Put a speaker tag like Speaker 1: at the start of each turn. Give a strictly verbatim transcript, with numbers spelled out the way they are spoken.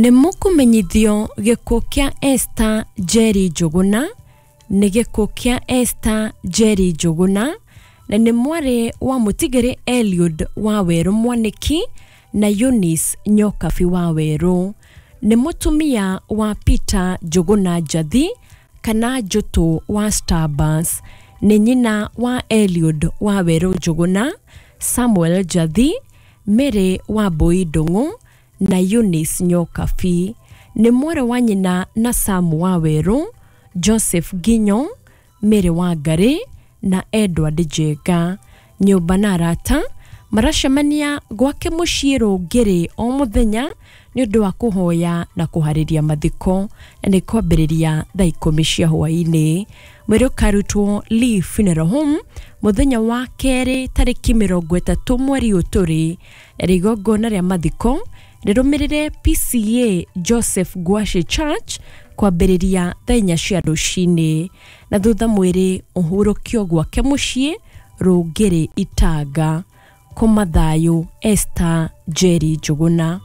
Speaker 1: Nĩ mũkũmenyithio gĩkuũ kĩa Esther Njeri Njũgũna. Nĩ gĩkuũ kĩa Esther Njeri Njũgũna na nĩ mwarĩ wa mũtigĩrĩ Eliud Wawerũ Mwanĩki na Eunice Nyokabi Wawerũ. Nĩ mũtumia wa Peter Njũgũna Njathi kana Njũtũ wa Starbus. Nĩ nyina wa Eliud Wawerũ Njũgũna, Samuel Njathi, Mary Wambui Ndung'u na Eunice Nyokabi. Nĩ mwarĩ wa nyina na Sam Wawerũ, Joseph Nginyo, Mary Wangari na Edward Njenga. Nyũmba na arata maracemania gwake mũciĩ Rũngĩrĩ o mũthenya nĩ ũndũ wa kũhoya na kũharĩria mathiko, na nĩ kwambĩrĩria thaa ikũmi cia hwaĩ-inĩ. Mwĩrĩ ũkarutwo Lee Funeral Home mũthenya wa kerĩ tarĩki mĩrongo ĩtatũ mweri ũyũ tũrĩ, na igongona rĩa mathiko rĩrũmĩrĩre P C A Joseph Ngwacĩ Church kwambĩrĩria thaa inya cia rũcinĩ, na thutha mwĩrĩ ũhurũkio gwake mũciĩ Rũngĩrĩ Itanga. Kũma thayũ, Esther Njeri Njũgũna.